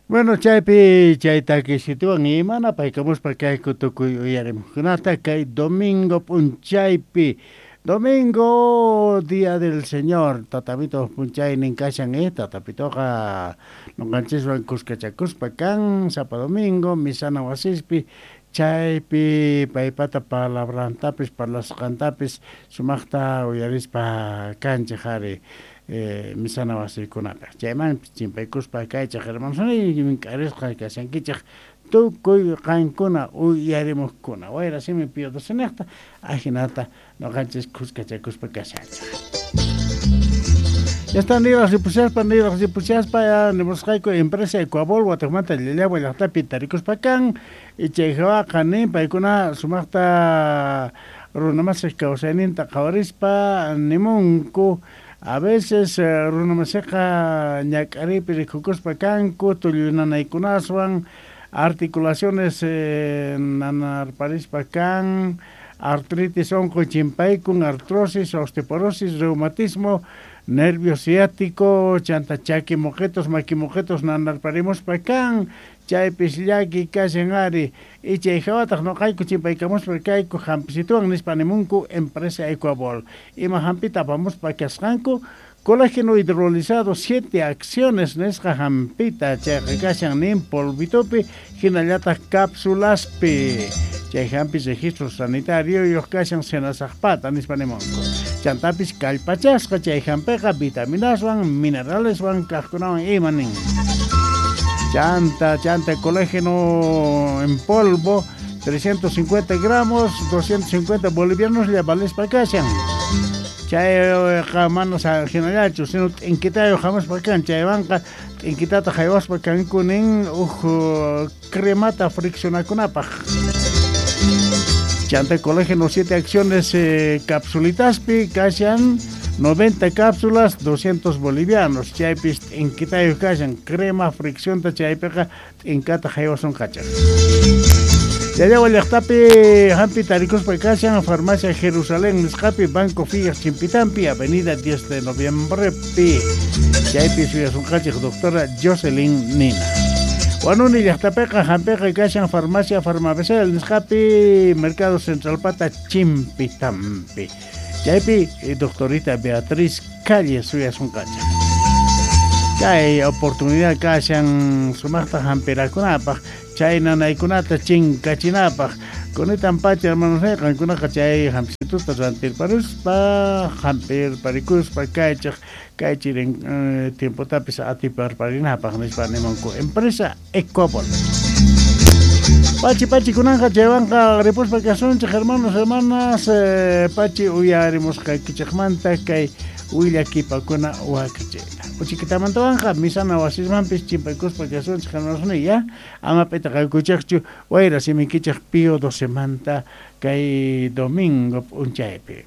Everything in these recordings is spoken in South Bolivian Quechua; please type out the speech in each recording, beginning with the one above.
Bueno, chaypi chay takisituwan imana paykamuspa kayku tukuy uyarimuqkunata kay domingo p'unchaypi. Domingo, Día del Señor, tatapito p'unchaynin kashan, tatapitoqa noqanchiswan kuskachakuspa kan sapa domingo misana wasispi chaypi paypata palabrantapis parlasqantapis sumaqta uyarispa kanchik ari misana wasikunapi. Chaymanpis chimpaykuspa kaychik hermanos mink'arisqa kashankichik tukuy qankuna uyarimuqkuna. Wayra simi Pío XII ajinata noqanchis kuskachakuspa kashanchik. Ya está niraq ripushaspa ya nimusqayku empresa Ecuabol Watukmanta Llallagua llaqtapi tarikuspa kan chay hawaqa nin paykuna sumaqta runamasik kawsayninta qhawarispa nimunku. A veces runamasiqa ñak'aripi rikukuspa kanku tullunanaykunaswan articulaciones nanarparispa kan artritis unquy chimpaykun artrosis, osteoporosis, reumatismo, nervio ciático, chanta chaki moqetos, maki moqetos nanarparimuspa kan chaypis llaki kashan ari y chay hawataq noqayku chimpaykamuspa kayku hampisituwan nispa nimunku empresa Ecuabol. Ima hampita apamuspa kasqanku colágeno hidrolizado 7 acciones nisqa hampita chayqa kashan nin polvitopi hinallataq cápsulaspi. Chay hampi registro sanitario yuq kashan senasaqpata nispa nimunku. Chantapis kallpachasqa chay hampiqa vitaminaswan mineraleswan kaqkunawan ima nin. Chanta, chanta colágeno en polvo 350 gramos, 250 bolivianos ya vales pa kashan. Chayqa mana hinallachu, sino t'inkitayo hamuspa kan, chaywanqa t'inkitata haywaspa kanku nin uj cremata friccionakunapaq. Chanta colágeno 7 acciones capsulitaspi kashan 90 cápsulas, 200 bolivianos. Chaypis t'inkitayo kashan crema friccionta chaypiqa t'inkata haywasun kachaq. Llallagua llaqtapi hampi tarikuspa kashan Farmacia Jerusalén nisqapi Banco Figas Chimpitampi Avenida 10 de Noviembre pi. Chaypi suyasunqachik doctora Jocelyn Nina. Wanuni llaqtapiqa hampiqa kashan Farmacia Farmabesel nisqapi Mercado Central Pata Chimpitampi. Chaypi doctorita Beatriz Calle suyasunqachik. Chay oportunidad kashan sumaqta hampirakunapaq chay nanaykunata chinkachinapaq. Kunitan pacha hermanos qankunaqa chay hampisituta rantirparuspa hampirparikuspa kaychik kay chirin tiempotapis atiparparinapaq nispa nimunku empresa Ecuabol. Pachi pachi kunanqa chaywanqa ripuspa kasunchik hermanos hermanas pachi uyarimusqaykichikmanta kay willakipakuna wakichiyta. Uchikitamantawanqa misana wasismanpis chimpaykuspa kasunchik hermanos ya ama p'itaqaykuchikchu wayra simikichik Pío XII manta kay domingo p'unchaypi.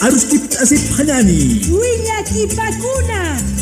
Aruskip asip hanani. Willakipakuna.